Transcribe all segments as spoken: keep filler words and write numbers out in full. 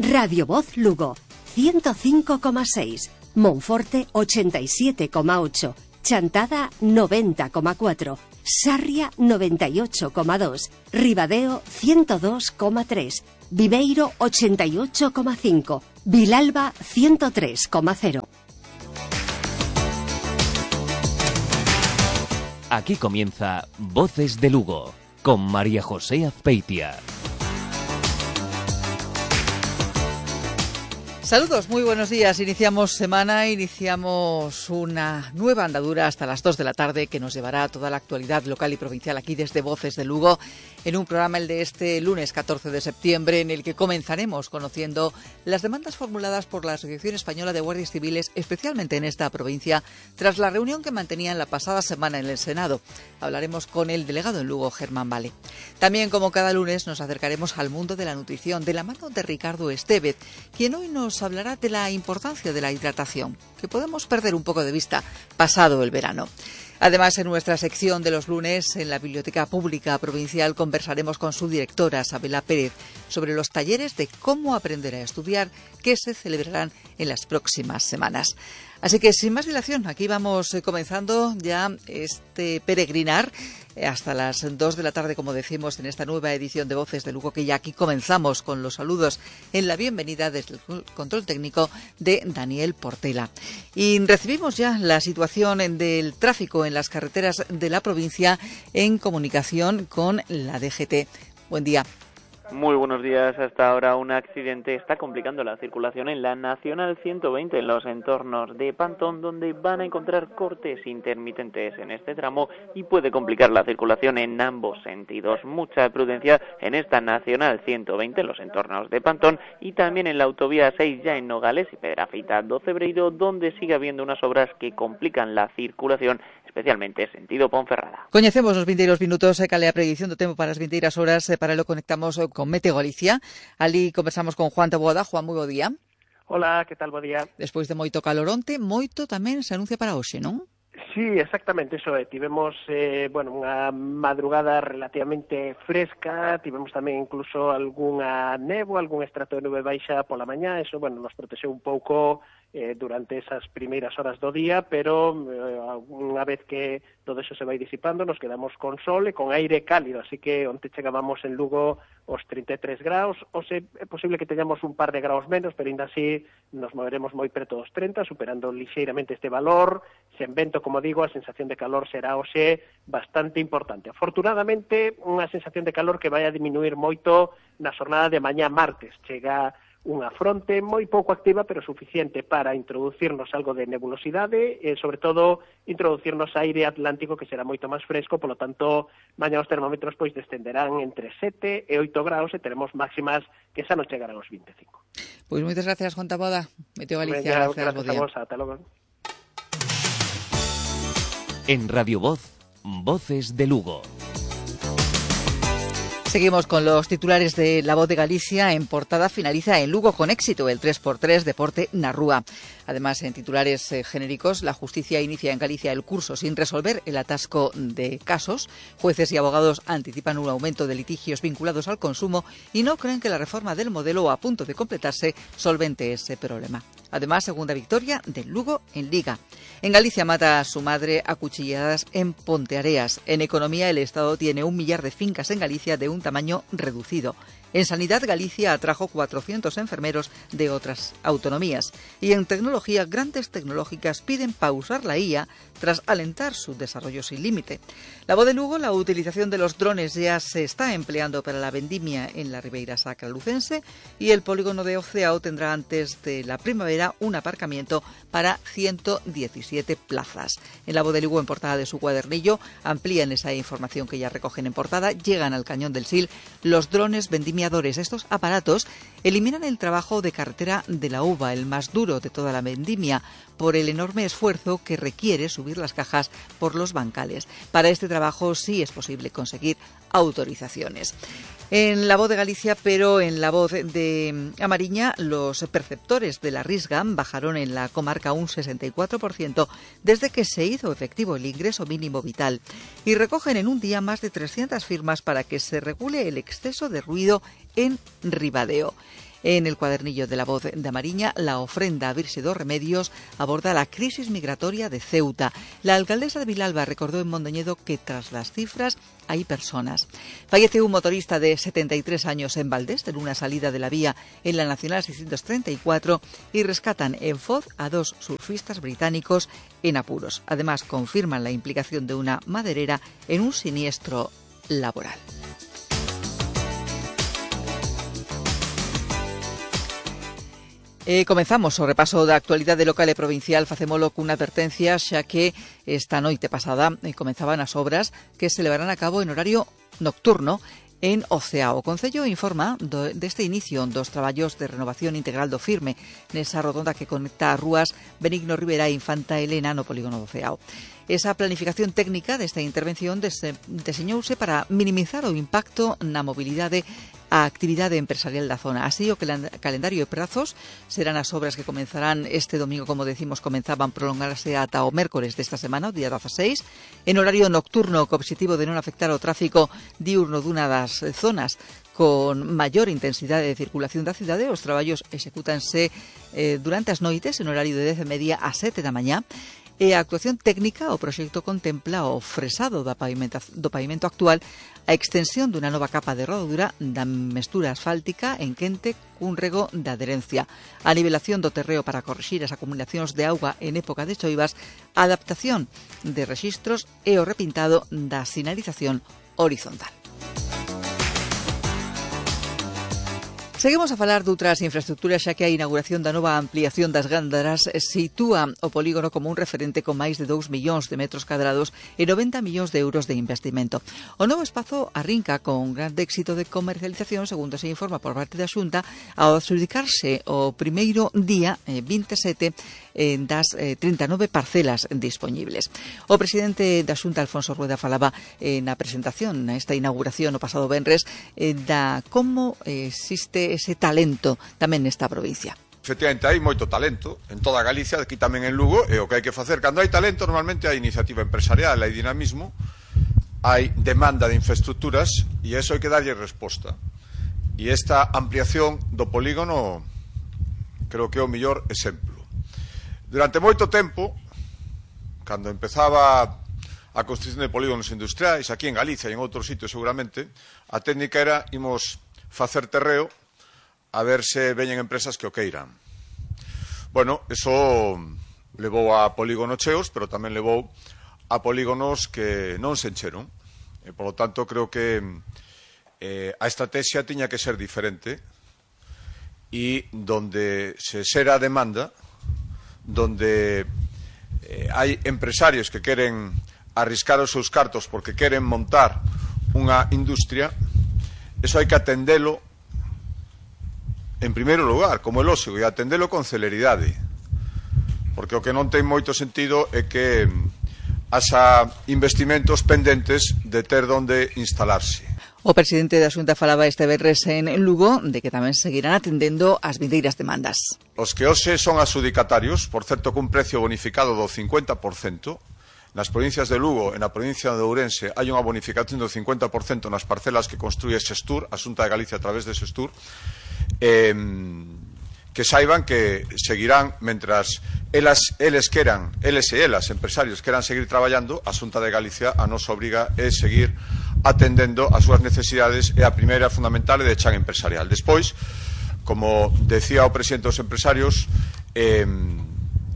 Radio Voz Lugo, ciento cinco coma seis, Monforte ochenta y siete coma ocho, Chantada noventa coma cuatro, Sarria noventa y ocho coma dos, Ribadeo ciento dos coma tres, Viveiro ochenta y ocho coma cinco, Vilalba ciento tres coma cero. Aquí comienza Voces de Lugo, con María José Azpeitia. Saludos, muy buenos días. Iniciamos semana, iniciamos una nueva andadura hasta las dos de la tarde que nos llevará a toda la actualidad local y provincial aquí desde Voces de Lugo, en un programa, el de este lunes catorce de septiembre, en el que comenzaremos conociendo las demandas formuladas por la Asociación Española de Guardias Civiles, especialmente en esta provincia, tras la reunión que mantenían la pasada semana en el Senado. Hablaremos con el delegado en Lugo, Germán Vale. También, como cada lunes, nos acercaremos al mundo de la nutrición, de la mano de Ricardo Estevez, quien hoy nos hablará de la importancia de la hidratación, que podemos perder un poco de vista pasado el verano. Además, en nuestra sección de los lunes, en la Biblioteca Pública Provincial, conversaremos con su directora, Sabela Pérez, sobre los talleres de cómo aprender a estudiar que se celebrarán en las próximas semanas. Así que, sin más dilación, aquí vamos comenzando ya este peregrinar hasta las dos de la tarde, como decimos, en esta nueva edición de Voces de Lugo, que ya aquí comenzamos con los saludos en la bienvenida desde el control técnico de Daniel Portela. Y recibimos ya la situación del tráfico en las carreteras de la provincia en comunicación con la D G T. Buen día. Muy buenos días. Hasta ahora un accidente está complicando la circulación en la Nacional ciento veinte en los entornos de Pantón, donde van a encontrar cortes intermitentes en este tramo y puede complicar la circulación en ambos sentidos. Mucha prudencia en esta Nacional ciento veinte en los entornos de Pantón y también en la autovía seis ya en Nogales y Pedrafita do Cebreiro, donde sigue habiendo unas obras que complican la circulación, especialmente sentido Ponferrada. Coñecemos os vindeiros minutos e cale a predición do tempo para as vindeiras horas. Para lo conectamos con Meteo Galicia. Ali conversamos con Juan Taboada. Juan, moi bo día. Hola, que tal, bo día. Despois de moito caloronte, moito tamén se anuncia para hoxe, non? Sí, exactamente, eso é. Tivemos, eh, bueno, unha madrugada relativamente fresca, tivemos tamén incluso algunha néboa, algún estrato de nube baixa pola mañá, eso, bueno, nos protexeu un pouco eh, durante esas primeiras horas do día, pero eh, unha vez que todo eso se vai disipando, nos quedamos con sol e con aire cálido, así que onte chegábamos en Lugo os trinta e tres graus, ou se é posible que teñamos un par de graus menos, pero ainda así nos moveremos moi preto dos trinta, superando lixeiramente este valor, sen vento, como digo, a sensación de calor será hoxe bastante importante. Afortunadamente, unha sensación de calor que vai a diminuir moito na xornada de mañá martes. Chega unha fronte moi pouco activa, pero suficiente para introducirnos algo de nebulosidade e, sobre todo, introducirnos aire atlántico que será moito máis fresco, polo tanto, mañá os termómetros pois descenderán entre sete e oito graus e teremos máximas que xa non chegarán aos vinte e cinco. Pois moitas gracias, Juan Taboada. Meteo Galicia. Venga, gracias a vos, ata logo. En Radio Voz, Voces de Lugo. Seguimos con los titulares de La Voz de Galicia. En portada finaliza en Lugo con éxito el tres por tres Deporte na Rúa. Además, en titulares eh, genéricos, la justicia inicia en Galicia el curso sin resolver el atasco de casos. Jueces y abogados anticipan un aumento de litigios vinculados al consumo y no creen que la reforma del modelo a punto de completarse solvente ese problema. Además, segunda victoria del Lugo en Liga. En Galicia mata a su madre a cuchilladas en Ponteareas. En economía, el Estado tiene un millar de fincas en Galicia de un tamaño reducido. En Sanidad, Galicia atrajo cuatrocientos enfermeros de otras autonomías. Y en tecnología, grandes tecnológicas piden pausar la I A tras alentar su desarrollo sin límite. La Voz de Lugo, la utilización de los drones ya se está empleando para la vendimia en la Ribeira Sacra lucense y el polígono de Oceao tendrá antes de la primavera un aparcamiento para ciento diecisiete plazas. En La Voz de Lugo, en portada de su cuadernillo, amplían esa información que ya recogen en portada. Llegan al Cañón del Sil los drones vendimiadores. Estos aparatos eliminan el trabajo de carretera de la uva, el más duro de toda la vendimia, por el enorme esfuerzo que requiere subir las cajas por los bancales. Para este trabajo sí es posible conseguir autorizaciones. En La Voz de Galicia, pero en La Voz de Amariña, los perceptores de la Risga bajaron en la comarca un sesenta y cuatro por ciento desde que se hizo efectivo el ingreso mínimo vital y recogen en un día más de trescientas firmas para que se regule el exceso de ruido en Ribadeo. En el cuadernillo de La Voz da Mariña, la ofrenda a Virxe dos Remedios aborda la crisis migratoria de Ceuta. La alcaldesa de Vilalba recordó en Mondoñedo que tras las cifras hay personas. Fallece un motorista de setenta y tres años en Valdés en una salida de la vía en la Nacional seiscientos treinta y cuatro y rescatan en Foz a dos surfistas británicos en apuros. Además, confirman la implicación de una maderera en un siniestro laboral. Eh, comenzamos o repaso da actualidade local e provincial. Facémolo cunha advertencia, xa que esta noite pasada eh, comenzaban as obras que se levarán a cabo en horario nocturno en Oceao. O Concello informa do, deste inicio dos traballos de renovación integral do Firme nesa rotonda que conecta as rúas Benigno Rivera e Infanta Elena no polígono do Oceao. Esa planificación técnica desta intervención deseñouse para minimizar o impacto na mobilidade a actividade empresarial da zona. Así, o calendario e prazos serán as obras que comenzarán este domingo, como decimos, comenzaban prolongarse ata o mércores desta semana, o día dezaseis, en horario nocturno, co objetivo de non afectar o tráfico diurno dunha das zonas con maior intensidade de circulación da cidade. Os traballos execútanse eh, durante as noites, en horario de dez e media a sete da mañá. E a actuación técnica, o proxecto contempla o fresado da pavimenta, do pavimento actual, a extensión dunha nova capa de rodadura da mestura asfáltica en quente cun rego de adherencia, a nivelación do terreo para corrixir as acumulacións de auga en época de choivas, a adaptación de rexistros e o repintado da sinalización horizontal. Seguimos a falar doutras infraestructuras, xa que a inauguración da nova ampliación das Gándaras sitúa o polígono como un referente con máis de dous millóns de metros cadrados e noventa millóns de euros de investimento. O novo espazo arrinca con grande éxito de comercialización, segundo se informa por parte da Xunta, ao adxudicarse o primeiro día, eh, vinte e sete, eh, das eh, trinta e nove parcelas dispoñibles. O presidente da Xunta, Alfonso Rueda, falaba eh, na presentación, nesta inauguración o pasado venres, eh, da como eh, existe ese talento tamén nesta provincia. Efectivamente, hai moito talento en toda Galicia, aquí tamén en Lugo, e o que hai que facer, cando hai talento, normalmente hai iniciativa empresarial, hai dinamismo, hai demanda de infraestructuras, e eso hai que darlle resposta. E esta ampliación do polígono creo que é o mellor exemplo. Durante moito tempo, cando empezaba a construcción de polígonos industriais, aquí en Galicia e en outros sitios seguramente, a técnica era imos facer terreo a ver se veñen empresas que o queiran. Bueno, eso levou a polígonos cheos, pero tamén levou a polígonos que non se encheron. E, por lo tanto, creo que eh, a estrategia tiña que ser diferente e donde se xera a demanda, donde eh, hai empresarios que queren arriscar os seus cartos porque queren montar unha industria, eso hai que atendelo en primeiro lugar, como é lógico, e atendelo con celeridade, porque o que non ten moito sentido é que haxa investimentos pendentes de ter donde instalarse. O presidente da Xunta falaba este venres en Lugo de que tamén seguirán atendendo as vindeiras demandas. Os que hoxe son adxudicatarios, por certo, cun precio bonificado do cincuenta por cento, nas provincias de Lugo e na provincia de Ourense hai unha bonificación do cincuenta por cento nas parcelas que construye Xestur, a Xunta de Galicia a través de Xestur, eh, que saiban que seguirán, mentras elas, eles queran, eles e elas, empresarios, queran seguir traballando, a Xunta de Galicia a nosa obriga é seguir atendendo as súas necesidades, e a primeira fundamental é de chan empresarial. Despois, como decía o presidente dos empresarios, eh,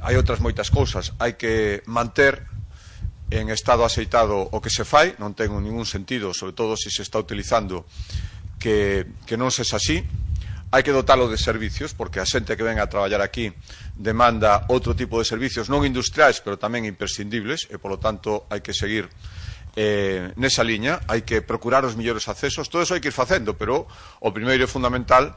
hai outras moitas cousas. Hai que manter en estado aceitado o que se fai, non ten ningún sentido, sobre todo se se está utilizando, que, que non sexa así. Hai que dotalo de servicios, porque a xente que ven a traballar aquí demanda outro tipo de servicios non industriais, pero tamén imprescindibles, e, polo tanto, hai que seguir eh, nesa liña. Hai que procurar os mellores accesos. Todo eso hai que ir facendo, pero o primeiro e fundamental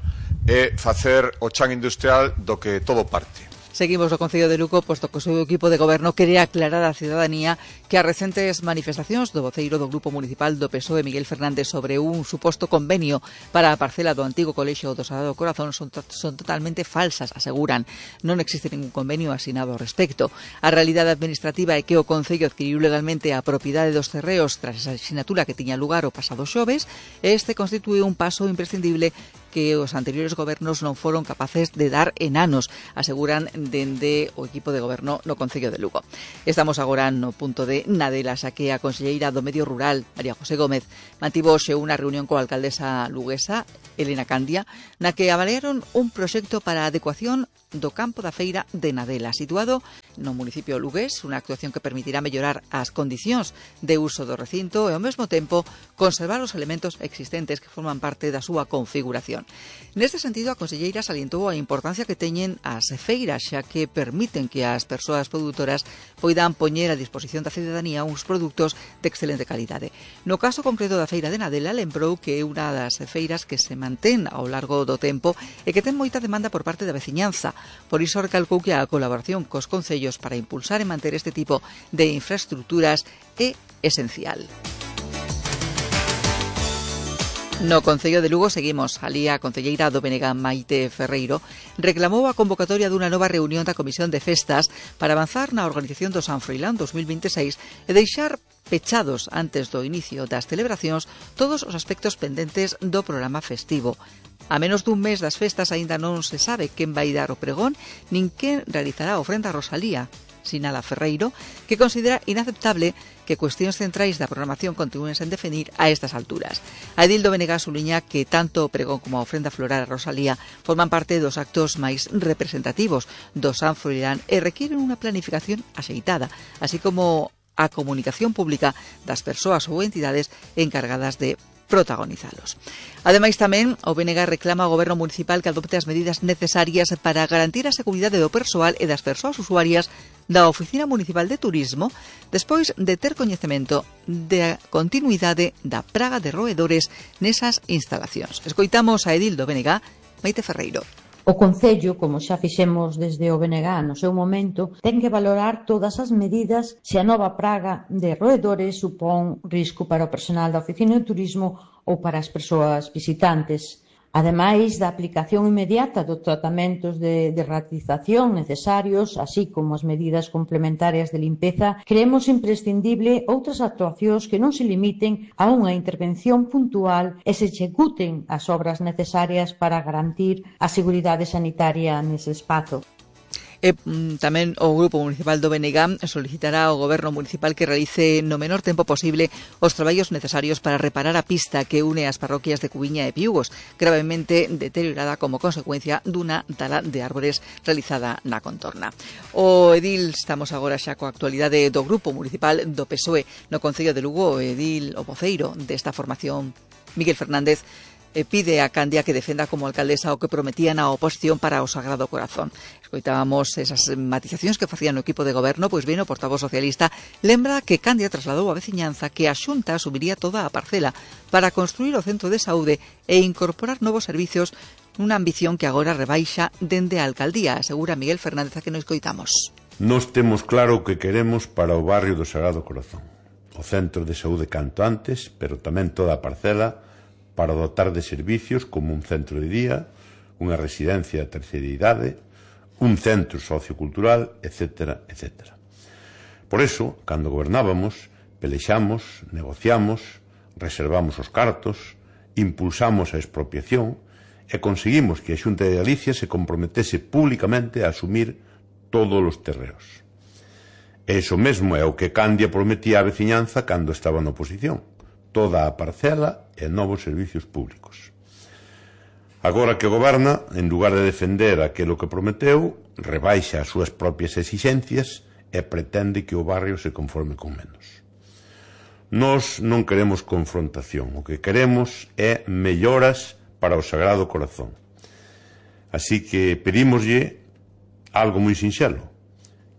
é facer o chan industrial do que todo parte. Seguimos no Concello de Lugo, posto que o seu equipo de goberno quere aclarar á cidadanía que as recentes manifestacións do voceiro do Grupo Municipal do P S O E, Miguel Fernández, sobre un suposto convenio para a parcela do antigo colexio do Sagrado Corazón son, son totalmente falsas, aseguran. Non existe ningún convenio asinado ao respecto. A realidade administrativa é que o Concello adquiriu legalmente a propiedade dos terreos tras esa asignatura que tiña lugar o pasado xoves, e este constitúe un paso imprescindible que os anteriores gobernos non foron capaces de dar en anos, aseguran dende o equipo de goberno no Concello de Lugo. Estamos agora no punto de Nadela, xa que a conselleira do Medio Rural, María José Gómez, mantivo hoxe unha reunión coa alcaldesa luguesa, Elena Candia, na que avaliaron un proxecto para a adecuación do campo da feira de Nadela, situado no municipio lugués, unha actuación que permitirá mellorar as condicións de uso do recinto e ao mesmo tempo conservar os elementos existentes que forman parte da súa configuración. Neste sentido, a conselleira salientou a importancia que teñen as feiras, xa que permiten que as persoas produtoras poidan poñer a disposición da cidadanía uns produtos de excelente calidade. No caso concreto da feira de Nadela, lembrou que é unha das feiras que se mantén ao largo do tempo e que ten moita demanda por parte da veciñanza. Por iso recalcou que a colaboración cos concellos para impulsar e manter este tipo de infraestructuras é esencial. No Concello de Lugo seguimos. Alí a concelleira do B N G, Maite Ferreiro, reclamou a convocatoria dunha nova reunión da Comisión de Festas para avanzar na organización do San Froilán dos mil vinte e seis e deixar pechados antes do inicio das celebracións todos os aspectos pendentes do programa festivo. A menos dun mes das festas aínda non se sabe quen vai dar o pregón nin quen realizará a ofrenda a Rosalía, sinala Ferreiro, que considera inaceptable que cuestións centrais da programación continúen sen definir a estas alturas. A edil do B N G suliña que tanto o pregón como a ofrenda floral a Rosalía forman parte dos actos máis representativos do San Froilán e requieren unha planificación axeitada, así como a comunicación pública das persoas ou entidades encargadas de protagonizalos. Ademais, tamén, o B N G reclama ao Goberno Municipal que adopte as medidas necesarias para garantir a seguridade do persoal e das persoas usuarias da Oficina Municipal de Turismo despois de ter coñecemento da continuidade da praga de roedores nesas instalacións. Escoitamos a edil do B N G, Maite Ferreiro. O Concello, como xa fixemos desde o B N G no seu momento, ten que valorar todas as medidas se a nova praga de roedores supón risco para o personal da Oficina de Turismo ou para as persoas visitantes. Ademais da aplicación inmediata dos tratamentos de derratización necesarios, así como as medidas complementarias de limpeza, creemos imprescindible outras actuacións que non se limiten a unha intervención puntual e se executen as obras necesarias para garantir a seguridade sanitaria nese espazo. E tamén o Grupo Municipal do B N G solicitará ao Goberno Municipal que realice no menor tempo posible os traballos necesarios para reparar a pista que une as parroquias de Cubiña e Piugos, gravemente deteriorada como consecuencia dunha tala de árbores realizada na contorna. O edil, estamos agora xa coa actualidade do Grupo Municipal do P S O E no Concello de Lugo, o edil o voceiro desta formación, Miguel Fernández, pide a Candia que defenda como alcaldesa o que prometían a oposición para o Sagrado Corazón. Escoitábamos esas matizacións que facían o equipo de goberno, pois ben, o portavoz socialista lembra que Candia trasladou a veciñanza que a Xunta asumiría toda a parcela para construir o centro de saúde e incorporar novos servicios nunha ambición que agora rebaixa dende a alcaldía, asegura Miguel Fernández, a que nos escoitamos. Nos temos claro o que queremos para o barrio do Sagrado Corazón. O centro de saúde canto antes, pero tamén toda a parcela para dotar de servicios como un centro de día, unha residencia de terceira idade, un centro sociocultural, etcétera, etcétera. Por eso, cando gobernábamos, pelexamos, negociamos, reservamos os cartos, impulsamos a expropiación e conseguimos que a Xunta de Galicia se comprometese públicamente a asumir todos os terreos. E iso mesmo é o que Candia prometía á veciñanza cando estaba na oposición. Toda a parcela e novos servicios públicos. Agora que goberna, en lugar de defender aquilo que prometeu, rebaixa as súas propias exixencias e pretende que o barrio se conforme con menos. Nós non queremos confrontación, o que queremos é melloras para o Sagrado Corazón. Así que pedímoslle algo moi sinxelo,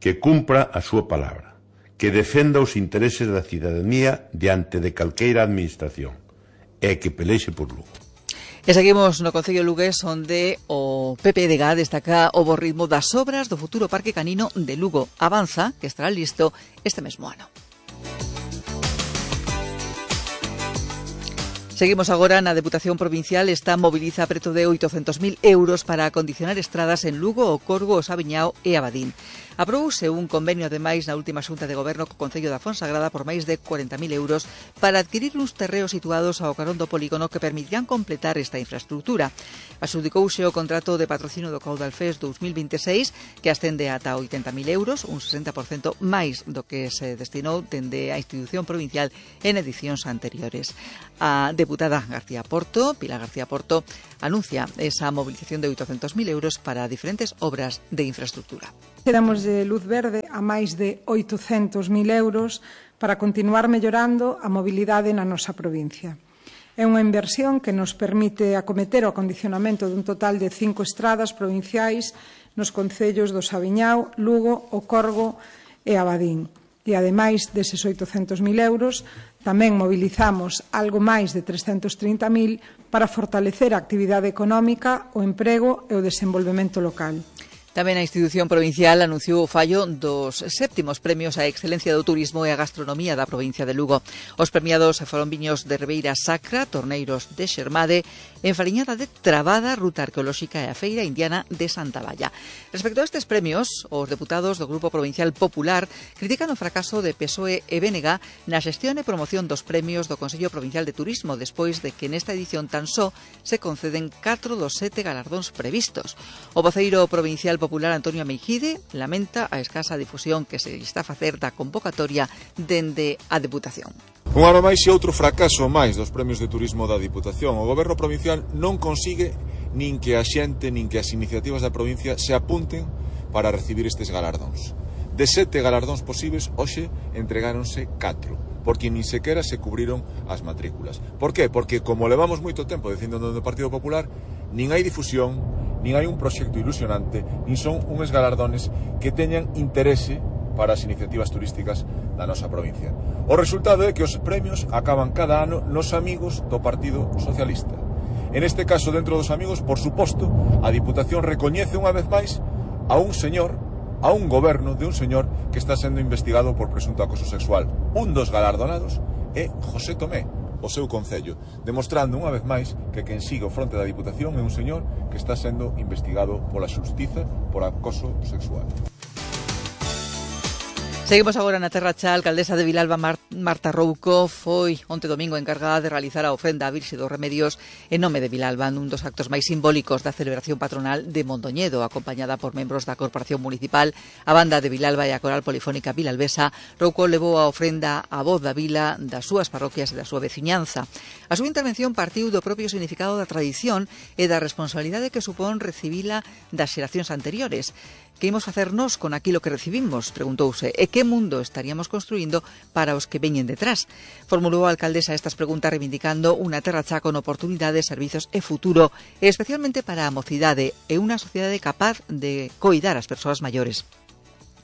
que cumpra a súa palabra, que defenda os intereses da cidadanía diante de calqueira administración e que pelexe por Lugo. E seguimos no Concello lugués, onde o P P D G destaca o bo ritmo das obras do futuro Parque Canino de Lugo. Avanza que estará listo este mesmo ano. Seguimos agora na Deputación Provincial. Esta moviliza preto de oitocentos mil euros para acondicionar estradas en Lugo, o Corgo, o Sabiñao e Abadín. Aprobouse un convenio, ademais, na última xunta de goberno co Concello da Fonsagrada por máis de corenta mil euros para adquirir uns terreos situados ao carón do polígono que permitirán completar esta infraestructura. Adxudicouse o contrato de patrocínio do Caudal Fest dous mil vinte e seis, que ascende ata oitenta mil euros, un sesenta por cento máis do que se destinou dende a institución provincial en edicións anteriores. A deputada García Porto, Pilar García Porto, anuncia esa movilización de oitocentos mil euros para diferentes obras de infraestructura. Damos de luz verde a máis de oitocentos mil euros para continuar mellorando a mobilidade na nosa provincia. É unha inversión que nos permite acometer o acondicionamento dun total de cinco estradas provinciais nos concellos do Saviñao, Lugo, O Corgo e Abadín. E, ademais deses oitocentos mil euros, tamén mobilizamos algo máis de trescentos trinta mil para fortalecer a actividade económica, o emprego e o desenvolvemento local. Tamén a institución provincial anunciou o fallo dos séptimos premios á excelencia do turismo e a gastronomía da provincia de Lugo. Os premiados foron viños de Ribeira Sacra, Torneiros de Xermade, Enfariñada de Trabada, Ruta Arqueolóxica e a Feira Indiana de Santa Valla. Respecto a estes premios, os deputados do Grupo Provincial Popular critican o fracaso de P S O E e B N G na xestión e promoción dos premios do Consello Provincial de Turismo, despois de que nesta edición tan só se conceden catro dos sete galardóns previstos. O voceiro provincial Popular Antonio Meijide lamenta a escasa difusión que se está a facer da convocatoria dende a Deputación. Un ano máis e outro fracaso máis dos premios de turismo da Diputación. O Goberno provincial non consigue nin que a xente nin que as iniciativas da provincia se apunten para recibir estes galardóns. De sete galardóns posibles, hoxe entregáronse catro, porque nin sequera se cubriron as matrículas. Por qué? Porque, como levamos moito tempo dicindo no Partido Popular, nin hai difusión, nin hai un proxecto ilusionante, nin son uns galardones que teñan interese para as iniciativas turísticas da nosa provincia. O resultado é que os premios acaban cada ano nos amigos do Partido Socialista. En este caso, dentro dos amigos, por suposto, a Diputación recoñece unha vez máis a un señor, a un goberno de un señor que está sendo investigado por presunto acoso sexual. Un dos galardonados é José Tomé, o seu concello, demostrando unha vez máis que quen sigue ao fronte da Diputación é un señor que está sendo investigado pola xustiza por acoso sexual. Seguimos agora na Terra Cha. A alcaldesa de Vilalba, Marta Rouco, foi onte domingo encargada de realizar a ofrenda á Virxe dos Remedios en nome de Vilalba, nun dos actos máis simbólicos da celebración patronal de Mondoñedo, acompañada por membros da Corporación Municipal, a Banda de Vilalba e a Coral Polifónica Vilalbesa. Rouco levou a ofrenda á voz da vila, das súas parroquias e da súa veciñanza. A súa intervención partiu do propio significado da tradición e da responsabilidade que supón recibila das xeracións anteriores. Que imos facernos con aquilo que recibimos? Preguntouse. E que mundo estaríamos construindo para os que veñen detrás? Formulou a alcaldesa estas preguntas reivindicando unha Terra Cha con oportunidades, servizos e futuro, e especialmente para a mocidade e unha sociedade capaz de coidar as persoas maiores.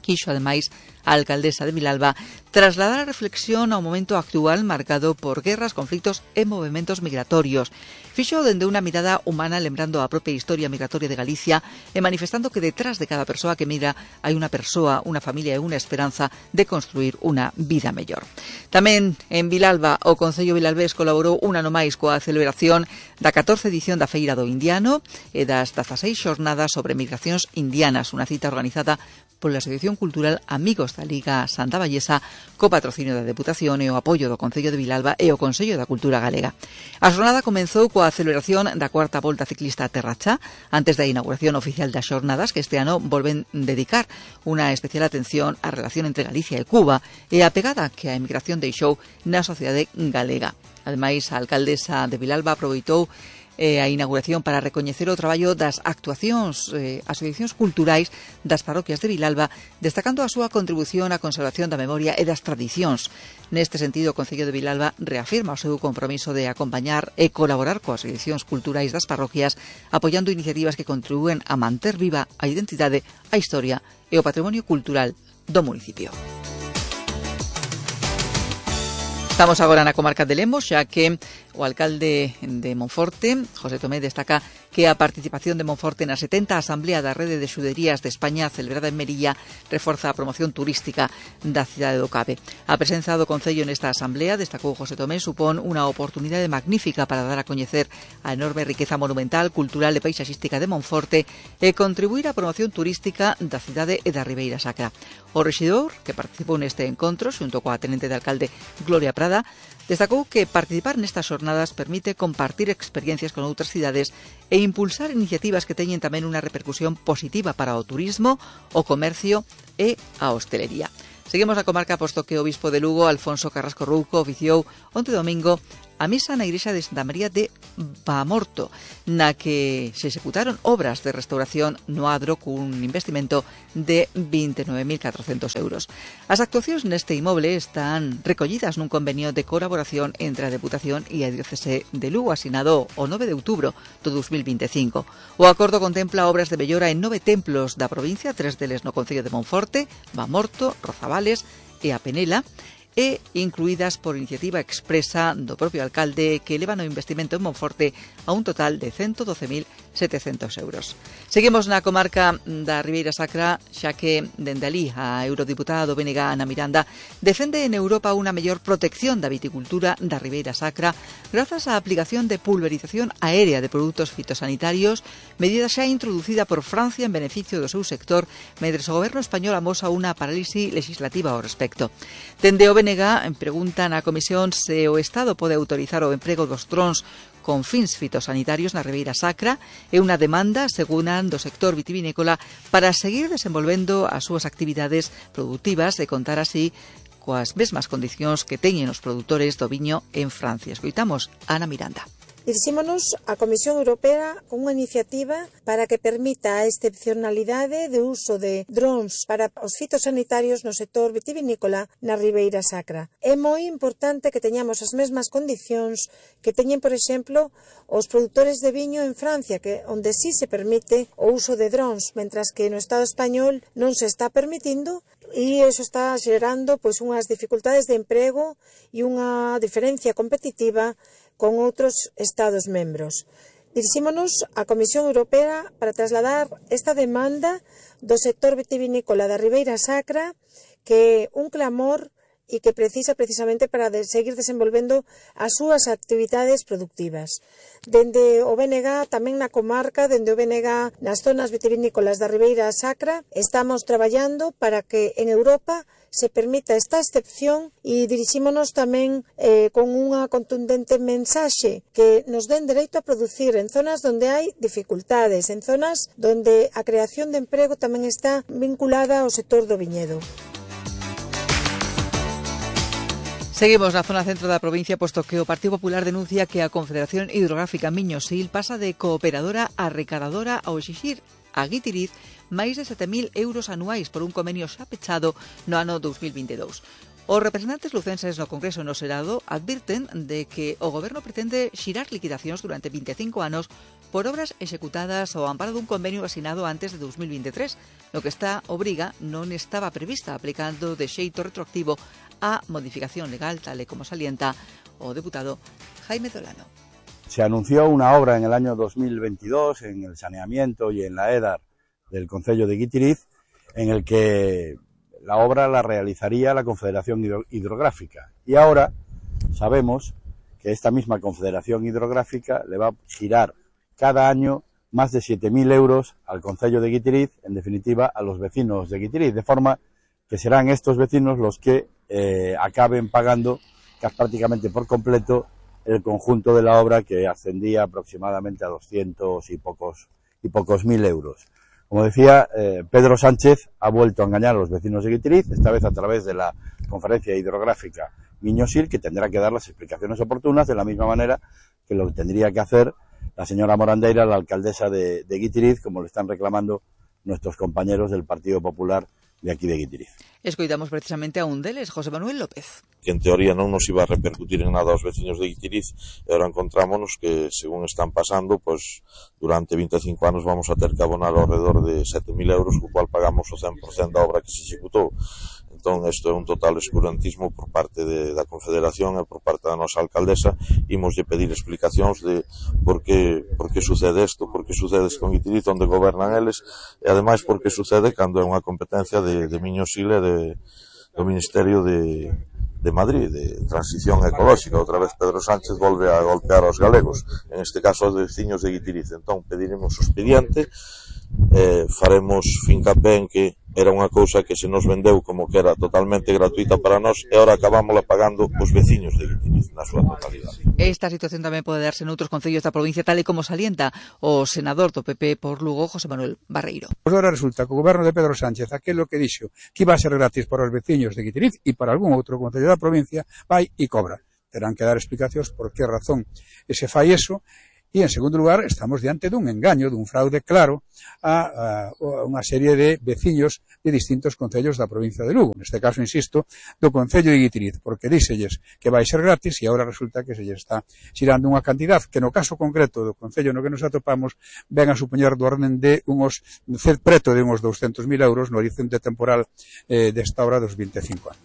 Quixo, ademais, a alcaldesa de Vilalba trasladar a reflexión ao momento actual marcado por guerras, conflitos e movementos migratorios. Fixo dende unha mirada humana, lembrando a propia historia migratoria de Galicia e manifestando que detrás de cada persoa que migra hai unha persoa, unha familia e unha esperanza de construir unha vida mellor. Tamén en Vilalba, o Concello Vilalbés colaborou un ano máis coa celebración da catorce edición da Feira do Indiano e das dezaseis xornadas sobre migracións indianas, unha cita organizada pola Asociación Cultural Amigos da Liga Santa Vallesa, co patrocinio da Deputación e o apoio do Concello de Vilalba e o Consello da Cultura Galega. A xornada comenzou coa celebración da cuarta volta ciclista Terra Cha, antes da inauguración oficial das xornadas, que este ano volven dedicar unha especial atención á relación entre Galicia e Cuba e a pegada que a emigración deixou na sociedade galega. Ademais, a alcaldesa de Vilalba aproveitou eh, a inauguración para recoñecer o traballo das actuacións, eh, asociacións culturais das parroquias de Vilalba, destacando a súa contribución á conservación da memoria e das tradicións. Neste sentido, o Concello de Vilalba reafirma o seu compromiso de acompañar e colaborar coas asociacións culturais das parroquias, apoiando iniciativas que contribúen a manter viva a identidade, a historia e o patrimonio cultural do municipio. Estamos agora na comarca de Lemos, xa que O alcalde de Monforte, José Tomé, destaca que a participación de Monforte na setenta Asamblea da Rede de Xuderías de España celebrada en Melilla reforza a promoción turística da cidade do Cabe. A presenza do Concello nesta Asamblea, destacou José Tomé, supón unha oportunidade magnífica para dar a coñecer a enorme riqueza monumental, cultural e paisaxística de Monforte e contribuir á promoción turística da cidade e da Ribeira Sacra. O rexidor, que participou neste encontro, xunto coa tenente de alcalde Gloria Prada, destacou que participar nestas xornadas permite compartir experiencias con outras cidades e impulsar iniciativas que teñen tamén unha repercusión positiva para o turismo, o comercio e a hostelería. Seguimos na comarca posto que o bispo de Lugo, Alfonso Carrasco Rouco, oficiou onte domingo a misa na igrexa de Santa María de Baamorto, na que se executaron obras de restauración no adro cun investimento de vinte e nove mil catrocentos euros. As actuacións neste inmoble están recollidas nun convenio de colaboración entre a Deputación e a Diocese de Lugo, asinado o nove de outubro do dos mil vinte e cinco. O acordo contempla obras de mellora en nove templos da provincia, tres deles no concello de Monforte, Baamorto, Rozabales e a Penela, e incluídas por iniciativa expresa do propio alcalde, que eleva o investimento en Monforte a un total de ciento doce mil setecientos euros. Seguimos na comarca da Ribeira Sacra, xa que dende ali a eurodiputada do B N G, Ana Miranda, defende en Europa unha mellor protección da viticultura da Ribeira Sacra grazas á aplicación de pulverización aérea de produtos fitosanitarios, medida xa introducida por Francia en beneficio do seu sector, mentre o goberno español amosa unha parálise legislativa ao respecto. Dende o B N G preguntan á Comisión se o Estado pode autorizar o emprego dos drons con fins fitosanitarios na Ribeira Sacra e unha demanda, segunan, do sector vitivinícola para seguir desenvolvendo as súas actividades produtivas e contar así coas mesmas condicións que teñen os produtores do viño en Francia. Escoitamos a Ana Miranda. Dirixímonos á Comisión Europea con unha iniciativa para que permita a excepcionalidade de uso de drons para os fitosanitarios no sector vitivinícola na Ribeira Sacra. É moi importante que teñamos as mesmas condicións que teñen, por exemplo, os produtores de viño en Francia, que onde sí se permite o uso de drons, mentras que no Estado español non se está permitindo, e iso está xerando pois unhas dificultades de emprego e unha diferencia competitiva con outros Estados membros. Dirixímonos á Comisión Europea para trasladar esta demanda do sector vitivinícola da Ribeira Sacra, que é un clamor e que precisa precisamente para de seguir desenvolvendo as súas actividades productivas. Dende o B N G, tamén na comarca, dende o B N G nas zonas vitivinícolas da Ribeira Sacra, estamos traballando para que en Europa se permita esta excepción e dirixímonos tamén eh, con unha contundente mensaxe que nos den dereito a producir en zonas donde hai dificultades, en zonas donde a creación de emprego tamén está vinculada ao sector do viñedo. Seguimos na zona centro da provincia, posto que o Partido Popular denuncia que a Confederación Hidrográfica Miño-Sil pasa de cooperadora a recadadora ao exixir a Guitiriz máis de sete mil euros anuais por un convenio xa pechado no ano dos mil vinte e dous. Os representantes lucenses no Congreso e no Senado advirten de que o Goberno pretende xirar liquidacións durante vinte e cinco anos por obras executadas ao amparo dun convenio asinado antes de dos mil vinte e tres, no que esta obriga non estaba prevista, aplicando de xeito retroactivo a modificación legal, tal e como salienta o deputado Jaime Dolano. Se anunció una obra en el año dos mil veintidós en el saneamiento y en la EDAR del concello de Guitiriz, en el que la obra la realizaría la Confederación Hidrográfica. Y ahora sabemos que esta misma Confederación Hidrográfica le va a girar cada año más de siete mil euros al concello de Guitiriz, en definitiva a los vecinos de Guitiriz, de forma que serán estos vecinos los que eh, acaben pagando casi prácticamente por completo el conjunto de la obra, que ascendía aproximadamente a doscientos y pocos, y pocos mil euros. Como decía, eh, Pedro Sánchez ha vuelto a engañar a los vecinos de Guitiriz, esta vez a través de la Conferencia Hidrográfica Miño-Sil, que tendrá que dar las explicaciones oportunas, de la misma manera que lo tendría que hacer la señora Morandeira, la alcaldesa de, de Guitiriz, como le están reclamando nuestros compañeros del Partido Popular de aquí de Guitiriz. Escoitamos precisamente a un deles, José Manuel López. Que en teoría non nos iba a repercutir en nada aos veciños de Guitiriz, e agora encontrámonos que, según están pasando, pues durante vinte e cinco anos vamos a ter que abonar ao redor de sete mil euros, co cual pagamos o cen por cento da obra que se executou. Entón, isto é un total escurantismo por parte de, da Confederación e por parte da nosa alcaldesa. Imoslle pedir explicacións de por que, por que sucede isto, por que sucede isto con Guitiriz, onde gobernan eles, e ademais por que sucede cando é unha competencia de, de Miño Sile de, do Ministerio de, de Madrid, de Transición Ecolóxica. Outra vez Pedro Sánchez volve a golpear aos galegos, en este caso aos veciños de Guitiriz. Entón, pediremos o expediente, eh, faremos fincapé en que era unha cousa que se nos vendeu como que era totalmente gratuita para nós e ahora acabámola pagando os veciños de Guitiriz na súa totalidade. Esta situación tamén pode darse noutros concellos da provincia, tal e como salienta o senador do P P por Lugo, José Manuel Barreiro. Pois agora resulta que o goberno de Pedro Sánchez, aquilo que dixo que iba a ser gratis para os veciños de Guitiriz e para algún outro concello da provincia, vai e cobra. Terán que dar explicacións por que razón se fai eso. E, en segundo lugar, estamos diante dun engaño, dun fraude claro a, a unha serie de veciños de distintos concellos da provincia de Lugo. Neste caso, insisto, do concello de Guitiriz, porque díxelles que vai ser gratis e agora resulta que se lle está xirando unha cantidad que, no caso concreto do concello no que nos atopamos, ven a supoñer do orden de unos preto de uns douscentos mil euros no horizonte temporal eh, desta obra dos vinte e cinco anos.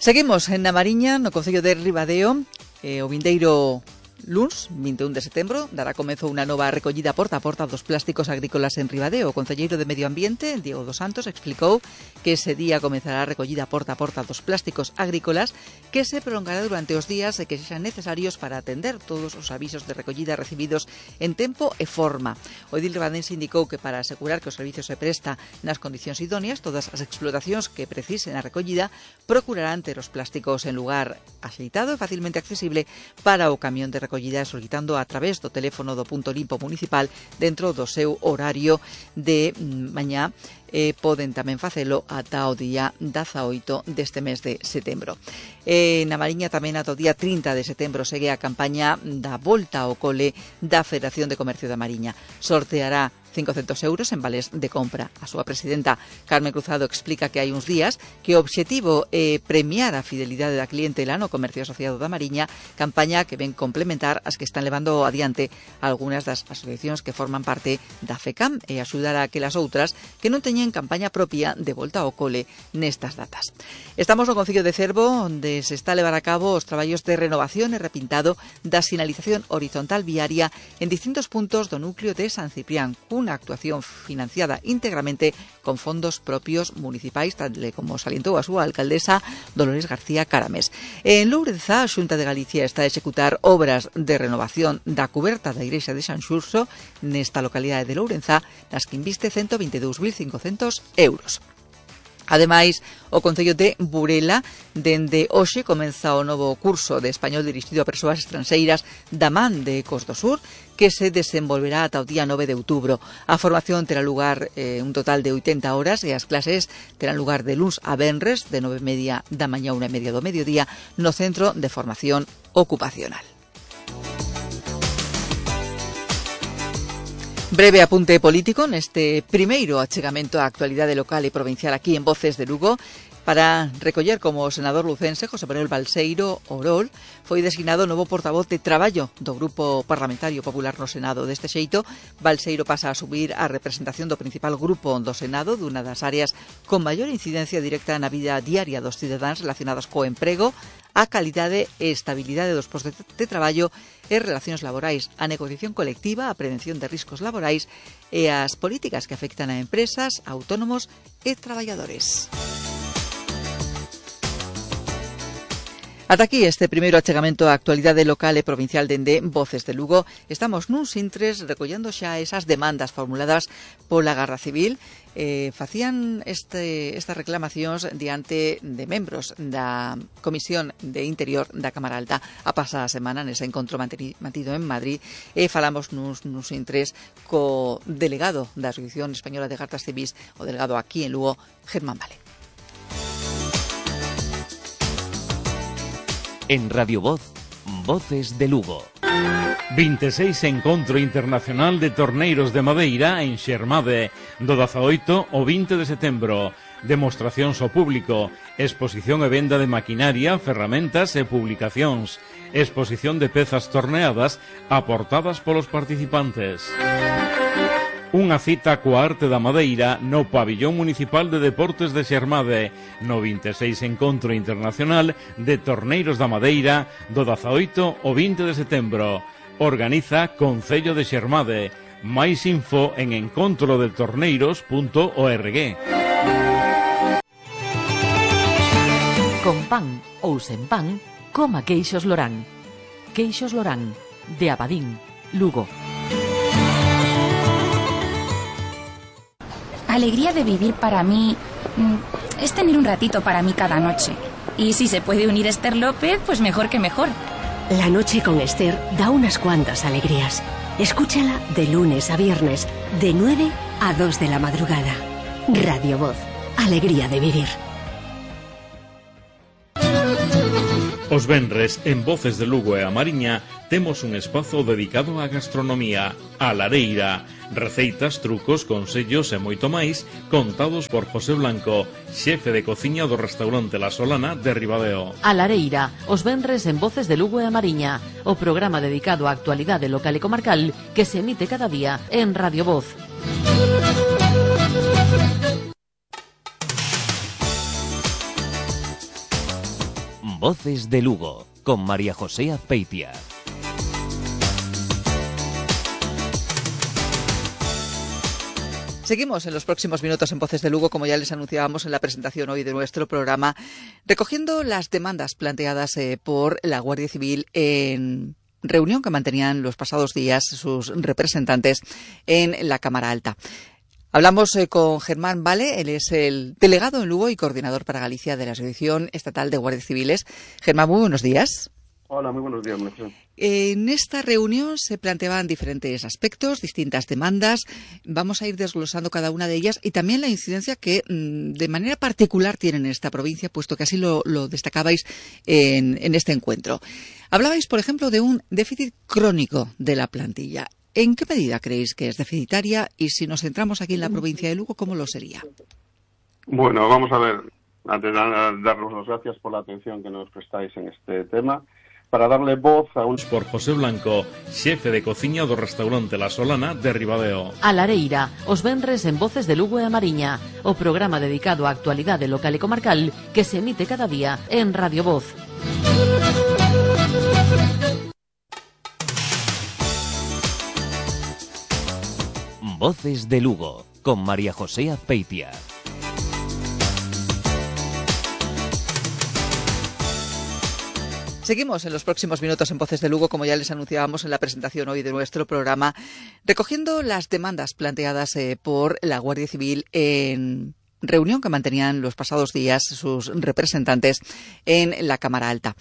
Seguimos en Namariña, no concello de Ribadeo. Eh, o vindeiro luns, vinte e un de setembro, dará comezo unha nova recollida porta a porta dos plásticos agrícolas en Ribadeo. O concelleiro de Medio Ambiente, Diego dos Santos, explicou que ese día comezará a recollida porta a porta dos plásticos agrícolas, que se prolongará durante os días e que sexan necesarios para atender todos os avisos de recollida recibidos en tempo e forma. O edil ribadense indicou que para asegurar que o servicio se presta nas condicións idóneas, todas as explotacións que precisen a recollida procurarán ter os plásticos en lugar axeitado e facilmente accesible para o camión de recollida, solicitando a través do teléfono do punto limpo municipal dentro do seu horario de mañá. Eh, poden tamén facelo ata o día dezaoito deste mes de setembro. Eh, na Mariña tamén ata o día trinta de setembro segue a campaña da Volta ao Cole da Federación de Comercio da Mariña. Sorteará cincocentos euros en vales de compra. A súa presidenta, Carmen Cruzado, explica que hai uns días que o obxectivo é premiar a fidelidade da clientela no comercio asociado da Mariña, campaña que ven complementar as que están levando adiante algunhas das asociacións que forman parte da FECAM e axudar a aquelas outras que non teñen campaña propia de volta ao cole nestas datas. Estamos no concello de Cervo, onde se está a levar a cabo os traballos de renovación e repintado da sinalización horizontal viaria en distintos puntos do núcleo de San Ciprián, unha actuación financiada íntegramente con fondos propios municipais, tal como salientou a súa alcaldesa Dolores García Caramés. En Lourenza, a Xunta de Galicia está a executar obras de renovación da cuberta da igrexa de San Xurxo nesta localidade de Lourenza, nas que inviste ciento veinte e dous mil cincocentos euros. Ademais, o Concello de Burela, dende hoxe, comeza o novo curso de español dirixido a persoas estranxeiras da man de Ecos do Sur, que se desenvolverá ata o día nove de outubro. A formación terá lugar eh, un total de oitenta horas e as clases terán lugar de luns a venres, de nove e media da mañá a unha e media do mediodía, no Centro de Formación Ocupacional. Breve apunte político neste primeiro achegamento á actualidade local e provincial aquí en Voces de Lugo, para recoller como o senador lucense José Manuel Balseiro Orol foi designado novo portavoz de traballo do Grupo Parlamentario Popular no Senado. Deste xeito, Balseiro pasa a asumir a representación do principal grupo do Senado, dunha das áreas con maior incidencia directa na vida diaria dos cidadáns relacionadas co emprego, a calidade e estabilidade dos postos de traballo e relacións laborais, a negociación colectiva, a prevención de riscos laborais e as políticas que afectan a empresas, autónomos e traballadores. Ata aquí este primeiro achegamento á actualidade local e provincial dende Voces de Lugo. Estamos nuns intres recollendo xa esas demandas formuladas pola Garda Civil. Eh, facían este, estas reclamacións diante de membros da Comisión de Interior da Cámara Alta a pasada semana nese encontro mantido en Madrid, e falamos nuns, nuns intres co delegado da Asociación Española de Gardas Civís, o delegado aquí en Lugo, Germán Vale. En Radio Voz, Voces de Lugo. vinte e seis Encontro Internacional de Torneiros de Madeira en Xermade, do dezaoito ao vinte de setembro. Demostracións ao público, exposición e venda de maquinaria, ferramentas e publicacións, exposición de pezas torneadas aportadas polos participantes. Unha cita coa arte da madeira no Pabillón Municipal de Deportes de Xermade, no vinte e seis Encontro Internacional de Torneiros da Madeira do dezaoito ao vinte de setembro. Organiza Concello de Xermade. Máis info en encontro de torneiros punto org. Con pan ou sen pan, coma queixos Lorán. Queixos Lorán, de Abadín, Lugo. Alegría de vivir para mí es tener un ratito para mí cada noche. Y si se puede unir Esther López, pues mejor que mejor. La noche con Esther da unas cuantas alegrías. Escúchala de lunes a viernes, de nueve a dos de la madrugada. Radio Voz, alegría de vivir. Os venres, en Voces de Lugo e a Mariña, temos un espazo dedicado á gastronomía, a lareira. Receitas, trucos, consellos e moito máis, contados por José Blanco, xefe de cociña do restaurante La Solana de Ribadeo. A lareira, os venres en Voces de Lugo e a Mariña, o programa dedicado á actualidade local e comarcal que se emite cada día en Radio Voz. Voces de Lugo, con María José Azpeitia. Seguimos en los próximos minutos en Voces de Lugo, como ya les anunciábamos en la presentación hoy de nuestro programa, recogiendo las demandas planteadas eh, por la Guardia Civil en reunión que mantenían los pasados días sus representantes en la Cámara Alta. Hablamos eh, con Germán Vale, él es el delegado en Lugo y coordinador para Galicia de la Asociación Estatal de Guardias Civiles. Germán, muy buenos días. Hola, muy buenos días, Melchor. En esta reunión se planteaban diferentes aspectos, distintas demandas. Vamos a ir desglosando cada una de ellas y también la incidencia que mmm, de manera particular tienen en esta provincia, puesto que así lo, lo destacabais en, en este encuentro. Hablabais, por ejemplo, de un déficit crónico de la plantilla. ¿En qué medida creéis que es deficitaria? Y si nos centramos aquí en la provincia de Lugo, ¿cómo lo sería? Bueno, vamos a ver. Antes de daros las gracias por la atención que nos prestáis en este tema. Para darle voz a un... Por José Blanco, xefe de cociña do restaurante La Solana de Ribadeo. A lareira, os venres en Voces de Lugo e a Mariña, o programa dedicado á actualidade local e comarcal que se emite cada día en Radio Voz. Voces de Lugo, con María José Azpeitia. Seguimos en los próximos minutos en Voces de Lugo, como ya les anunciábamos en la presentación hoy de nuestro programa, recogiendo las demandas planteadas eh, por la Guardia Civil en reunión que mantenían los pasados días sus representantes en la Cámara Alta.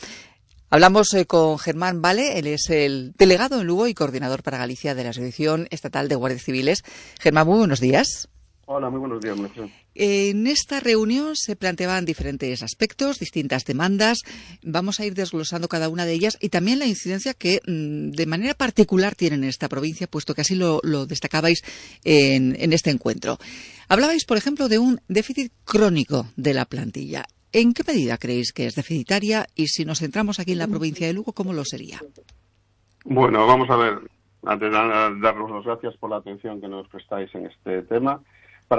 Hablamos eh, con Germán Vale, él es el delegado en Lugo y coordinador para Galicia de la Asociación Estatal de Guardias Civiles. Germán, muy buenos días. Hola, muy buenos días, Melchor. En esta reunión se planteaban diferentes aspectos, distintas demandas. Vamos a ir desglosando cada una de ellas y también la incidencia que mmm, de manera particular tienen en esta provincia, puesto que así lo, lo destacabais en, en este encuentro. Hablabais, por ejemplo, de un déficit crónico de la plantilla. ¿En qué medida creéis que es deficitaria? Y si nos centramos aquí en la provincia de Lugo, ¿cómo lo sería? Bueno, vamos a ver. Antes de daros las gracias por la atención que nos prestáis en este tema.